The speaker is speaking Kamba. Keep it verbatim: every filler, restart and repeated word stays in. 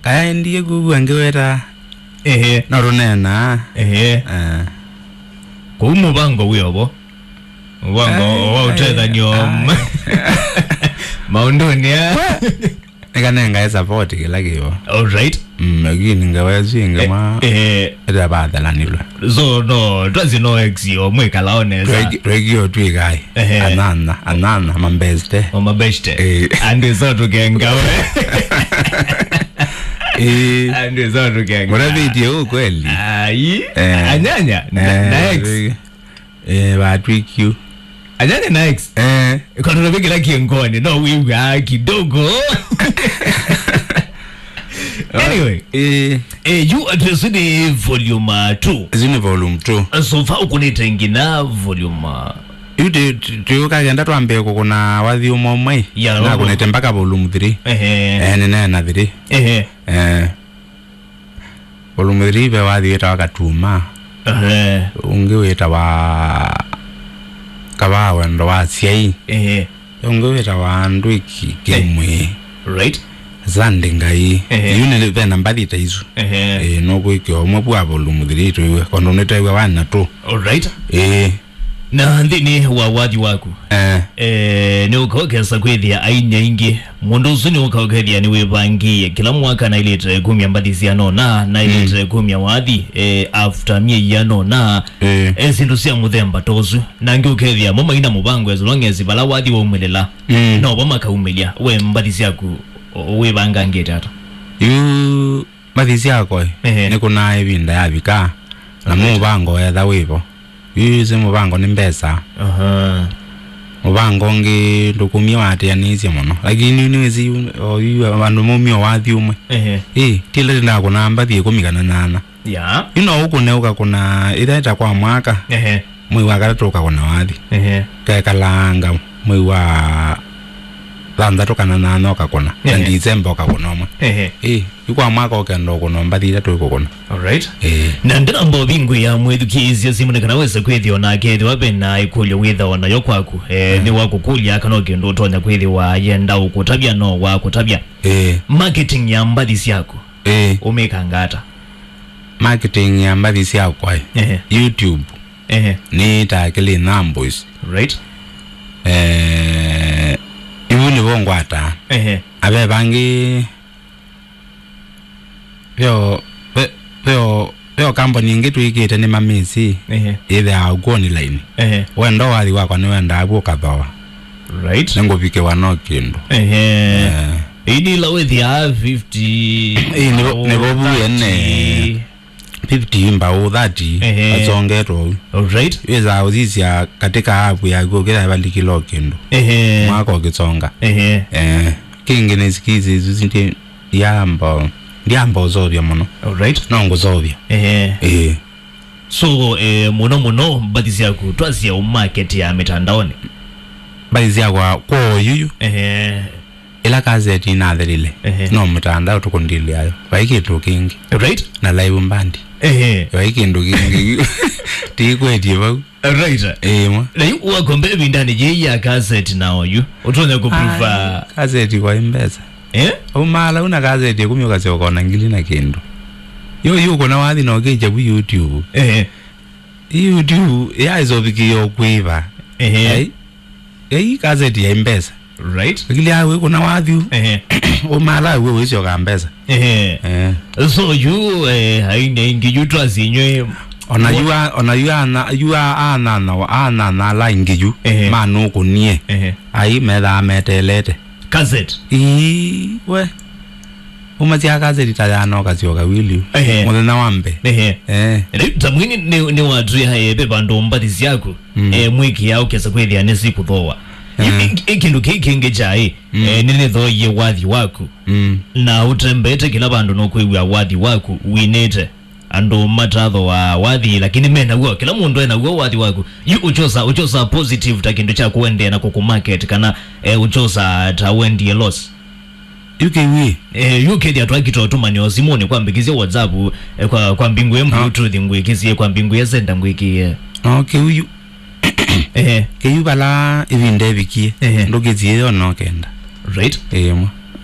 Aendie kũu angĩweta. Ehe. No tũneenaa. Ehe. Eh. Kũu mũvango wĩ ovo. Mũvango wa ũtethanyo maũndũnĩ aa. Nĩkanengae support kĩla kĩvo. All right. Mm, lakini ngawa ĩsu ĩngĩ mwa eh, ĩtavathalanilwe. So no, twasi no ex yo mwĩkalao nesa. Tweki- twekio twĩkae. Ehe. Anana, anana, mambeste. Mama beshte. Eh. And so tukengawe. Eh. And so tukengawe. Mũravitie huu kweli? Ai. Eh. Anyanya na, eh, na ex. Eh, vatwikyu. Anyanya na ex. Eh. Kwa tunavikira kiengoni, no we were kidogo. Anyway. Eh. Eh, you address ni volume uh, two. Isu ni volume two. So far ukunite ngina volume uh, yu ti- ti- tiukagenda twambie kũkũna wathi ũmwe ũmwe. Ya, na no, no. Kunite mpaka volume three. Ehe. Eh, nĩneena three. Ehe. Eh. Volume three ve wathi wĩtawa Katuma. Ehe. Ũngĩ wĩtawa Kavaa Wendo wa Asyai. Ehe. Ũngĩ wĩtawa Andũ Iki Kĩmwĩ. Right. Zandi Ngai. Ehe. Yu nĩ ve na mbathi ta isu. Ehe. Ĩĩ, nũkwĩkĩa ũmwe vwa volume three tũiwe. Kondũ nĩtew'a one na two. All right. Ĩĩ. Na nthĩnĩ wa wathi waku, eh, eh, nĩũkaũkesa kwĩthĩa aini aingĩ. Mũndũ ũsu nĩũkaũkethĩa nĩwĩvangĩĩe kĩla mwaka naĩlĩte kumya mbathi sianona, naĩlĩte kumya wathi, eh, after myei yanona, eh, eh, syĩndũ sya mũthemba ta ũsu. Na angĩ ũkethĩa mo maina mũvango as long as vala wathi waumĩlĩla, mm, novo makaumĩlya. We mbathi syaku, o- wĩvangangĩte ata? Yu mbathi syakwa, ehe, nĩkũnaa ĩvinda yavika, na mũvango wetha wĩvo. Yu ĩsĩ mũvango nĩ mbesa. Aha. Mũvango ũngĩ ndũkumie waatĩanĩisye mũno. Lakini yu nĩwĩsĩ yu, o yu andũ maumie o wathi ũmwe. Ehe. Ĩ, ti ĩla ndakũnaa mbathi ĩkũmi kana nyanya. Ya. Yu no ũkũne ũkakũna ĩthaĩta kwa mwaka. Ehe. Mwei wa katatũ ũkakũna wathi. Ehe. Kekalanga mwei wa thanthatũ kana nyanya ũkakũna. Na, ehe, December ũkakũna ũmwe. Ehe. Ĩ, yu kwa mwaka ũkenda ũkũna mbathi itatũ ĩkũkũna. All right. Ĩ. Na ndĩramba ũvingũĩa mwĩthukĩĩsya simũ nĩ kana wĩse kwĩthĩwa nake ethĩwa ve na ĩkũlyo wĩthawa nayo kwaku. Eh, mm, nĩ wakũkũlya kana o kĩndũ ũtonya kwĩthĩwa yenda ũkũtavya no wakũtavya. Ĩ. Marketing ya mbathi syaku. Ĩ. Ũmĩkanga ata? Marketing ya mbathi syakwa, ĩ. Ehe. YouTube. Ehe. Nĩ ta Kelly Nambos. Right. Eh, ivu nĩvo ngwata. Ehe. Ave vangĩ veo, ve- veo, veo kamboni ingĩ twĩkĩte nĩ mamĩsĩ. Ehe. Ĩthĩawa ku online. Ehe. Wenda wathi wakwa nĩwendaa vu ũkathoa. Right. Nĩngũvikĩwa no kĩndũ. Ehe. Eh. Ĩndĩ ĩla wĩthĩaa fifty, ĩĩ, nĩvo- nĩvo vu ene. Thirty. Fifty mbaũ, thirty, ehe, asongetwe ũu. All right. Wĩsaa ũsisya katika app yaku ũkĩtha valikile o kĩndũ. Ehe. Mwaka ũkĩsonga. Ehe. Eh, kĩngĩ nĩ skills isu ndi- ndiamba, ndiamba ũsovya mũno. All right. No ngũsovya. Ehe. Eh. So, eh, mũno mũno mbathi syaku twasya u market ya mĩtandaonĩ. Mbathi syakwa kwa oyuyu. Ehe. Ĩla kaseti inathelile, ehe, no mũtandao tũkũndilĩayo. Vai kĩndũ kĩngĩ. Right. Na live band. Ehe. Vai kĩndũ kĩngĩ. Tikwetye vau. Right. Ĩĩ, mwa. Na yu wakombe ĩvindanĩ yĩĩ ya kaseti na oyu, ũtonya kũprova. Ai, kaseti kwa mbesa. Eh? Umala una kaseti ĩkũmi ũkasyoka ona ngili na kĩndũ. Yo, yu ũkona wathi na ũkĩkya vu YouTube. Ehe. YouTube yaĩsovikie o kwĩva. Ehe. Ai. Ei, kaseti ya mbesa. Right. Lakini awe kuna wathiu. Ehe. Umala we wĩsyoka mbesa. Ehe. Eh. So yu, eh, aini aingĩ yu twasinywe. Ona yu a- ona yu ana- yu a- anana wa- anana ala aingĩ yu. Ehe. Manũkũnie. Ehe. Ai methaa metelete. Cassette. Ii, we. Umasya kaseti ta yana ũkasyoka wili. Ehe. Mũthenya wa mbee. Ehe. Eh. Rĩu ta mwini nĩ nĩ watwĩa ebe vandũ mbathi syaku. Mm. Eh, mwĩkĩa ũkesa kwĩthĩa nĩ sikũthoa. Eh. Ĩ- ĩ- ĩ kĩndũ kĩĩ kĩngĩ kyaĩ. Mm. Eh, nĩnĩthoie wathi waku. Mm. Na ũtembete kĩla vandũ no kwĩw'a wathi waku winĩte. Andũ matathoa wathi lakini menaw'o, kĩla mũndũ enaw'o wathi waku. Yu ũchosa ũchosa positive ta kĩndũ kya kũendea na kũkũmarket kana, eh, ũchosa ta wendie loss. Yu kĩw'ĩ. Eh, yu kĩthĩa twakita ũtũmanĩo simũnĩ kwa mbĩkĩsye WhatsApp, eh, kwa, kwa mbingũe Bluetooth ngwĩkĩsye, kwa mbingũe Xender ngwĩkĩe. No kĩu yu. Ehe. Kĩu vala ĩvinda ĩvikie. Ehe. Ndũkĩsie yo no kenda. Right. Ĩĩ, mwa.